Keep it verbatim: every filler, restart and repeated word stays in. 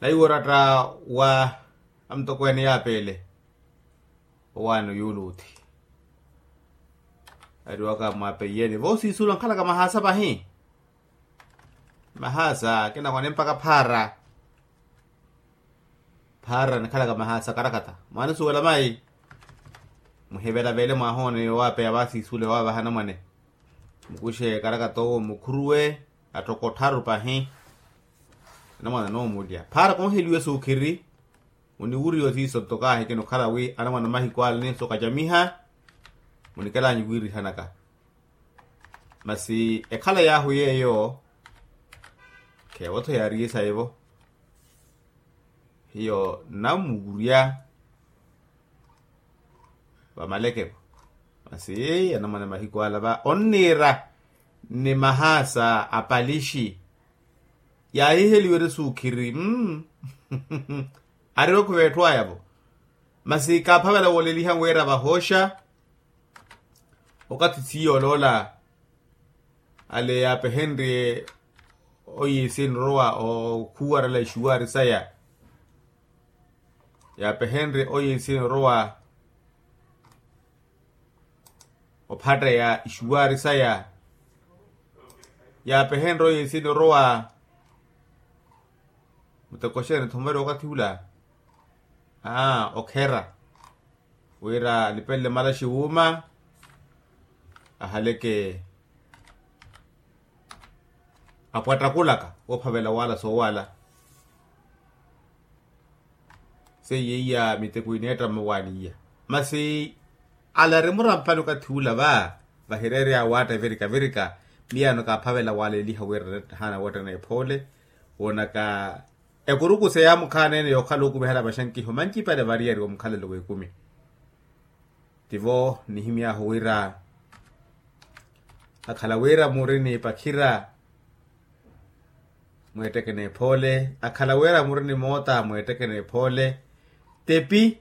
Naiwo oratta wa amutokweene yaapeele owaano yuuluuthi. Ariwaka mwapeiyeni voosiisula nkhalaka mahaasa pahi. Mahaasa kinakwane mpakha phaara. Phaara nikhalaka mahaasa karakata mwaanisuwela mayi. Muhivelavele mwaahoone yoowapeya vaasiisule waavaha anamwane. Mukuxe karakata owo mukhuruwe atthoko ottharu pahi. Anamwane anoomulya phaara konheliwe suukhiri. Muniwuriwa siiso ntokaahi kinukhala wi anamwane mahiku ale ninso kacamiha. Munikelanyi wiirihanaka. Masi ekhala yaahu yeeyo. Kheevo-tho yaariye saivo. Hiyo nnamuwurya vamaleke-vo. Masi anamwane mahiku ala va onniira ni mahaasa apalixi. Yaahiheliwe eri suukhiri mm. Ariwe okhuva etthu aya-vo. Masi kaaphavela wooleliha wira vahooxa. Okathi siiyo oloola ale yaapehenrye oyiisini orowa okhuwarela ixuwaari saya. Yaapehenrye oyiisini orowa ophatteya ixuwaari saya. Yaapehenrye oyiisini orowa mutekoxeni thomeriwa okathi ula. Aa okhera wira alipelele malaxi wuuma. Ahaleke apwattakulaka woophavela waala soowala. Seiye iya miteko ineetta mmawaani iya. Masi ala ari murampani okathi ula va vahireerya waatta evirika virika. Miyaano kaaphavela waaleliha wira ahaana woottana ephoole woonaka ekuruku seyamukhaana ene yookhala okumihala maxankiho mancipale variyari omukhalelo w'ekumi. Tivo nihimy'ahu wira akhala wira muri ni pakhira mweetteke n'ephoole akhala wira muri ni moota mweetteke n'ephoole. Tepi